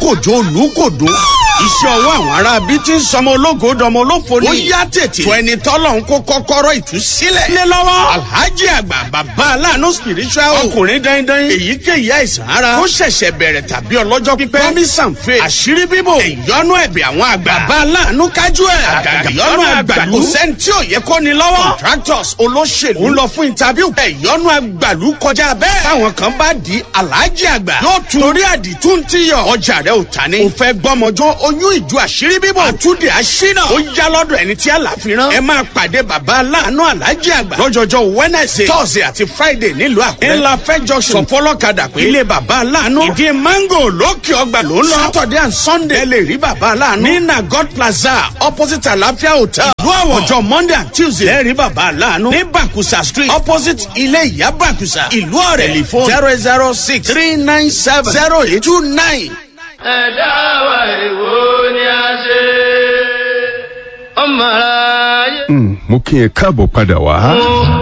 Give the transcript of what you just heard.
Kòjó Olùkòdó. Iṣẹ́ ọwọ́ àwọn ará bí ti ń sọmọ ológo dọmọ olófo ni. Ó yá tètè. Tó ẹni tọ́lọ̀ ń kó kọ́kọ́rọ́ ìtúsílẹ̀. Lé lọ́wọ́. Alhaji Àgbà Bàbá Aláàánú Spiritual. Ọkùnrin dandan. Èyíkéyìí àìsàn ara. Ó ṣẹ̀ṣẹ̀ bẹ̀rẹ̀ tàbí ọlọ́jọ́ pípẹ́. Promise and faith. Àṣírí bíbò. Ìyọnu ẹ̀bẹ̀ àwọn àgbà. Bàbá Aláàánú kájú ẹ̀. Àgàgà ìyọnu àgbàlú. Kò sẹ́ni tí ò yẹ kó ni lọ́wọ́. Contractors, olóṣèlú. Ń lọ fún interview. Ìyọnu àgbàlú kọjá bẹ́ẹ̀. Táwọn kan bá di Alhaji Àgbà. Yóò tún torí àdìtú ń tíyọ̀. Ọjà rẹ̀ ò ta ni. Ò fẹ́ gbọ́mọjọ́ oyún ìjọ àṣírí bíbò. Àtúndì àṣínà. Ó yá lọ́dọ̀ ẹni tí àlàfi rán. Ẹ máa pàdé Bàbá Aláàánú Alhaji Àgbà. Lọ́jọ́jọ́ Wednesday, Thursday àti Friday nílùú Àkúrẹ́. Ńlá fẹ́ junction. Sọ fọlọ́kadà pé ilé Bàbá Aláàánú. Ìdí mango lókè ọgbà ló ń lọ. Saturday and Sunday. Ẹ lè rí Bàbá Aláàánú. Ní Nagod Plaza, opposite Àlàáfíà Hotel. Ìlú Àwọ̀. Ọjọ́ Monday and Tuesday. Ẹ rí Bàbá Aláàánú. Ní Bàkúsà Street, opposite ilé ìyá Bàkúsà. Ìlú Ọ̀rẹ́. Tẹlifóònù 006 397 0829. Ẹ̀dá wa, èwo ni a ṣe ọmọ aráyé. Mo kí ẹ káàbọ̀ padà wá.